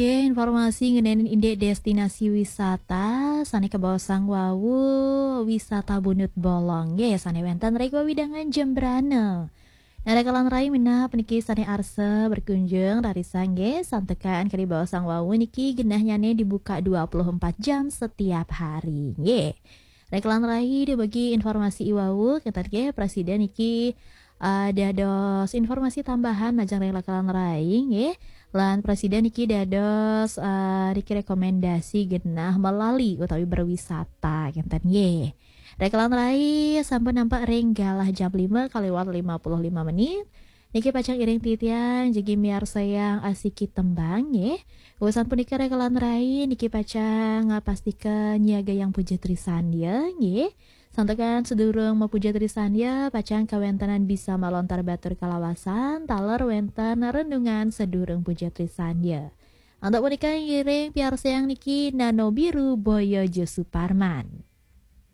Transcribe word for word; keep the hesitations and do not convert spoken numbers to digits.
Nggih, informasi ngenani indik destinasi wisata sane kabaosang wau, wisata Bunut Bolong nggih, sane wenten ring wewidangan Jembrana. Nah, rekalan rai minab puniki sane arsa berkunjung rarisang nggih, santukan kadi baosang wau niki genahnyane dibuka dua puluh empat jam setiap hari nggih. Rekalan rai dumugi informasi i wau, kenten nggih, prasida niki eh, dados informasi tambahan majeng ring rekalan rai nggih. Lan prasida niki dados eh, niki rekomendasi genah melali utawi berwisata kenten nggih. Rekalan rai sampun nampak ring galah jam lima kaliwat lima puluh lima menit. Niki pacang iring titiang jagi miarsayang asiki tembang nggih. Usan punika rekalan rai niki pacang ngapastika nyiagayang puja trisandya nggih. Santukan sedurung mapuja trisandya, pacang kawentenan bisa malontar batur kalawasan, taler wenten renungan sedurung puja trisandya. Antuk punika ngiring piarsayang niki Nano Biru Boyo Jo Suparman.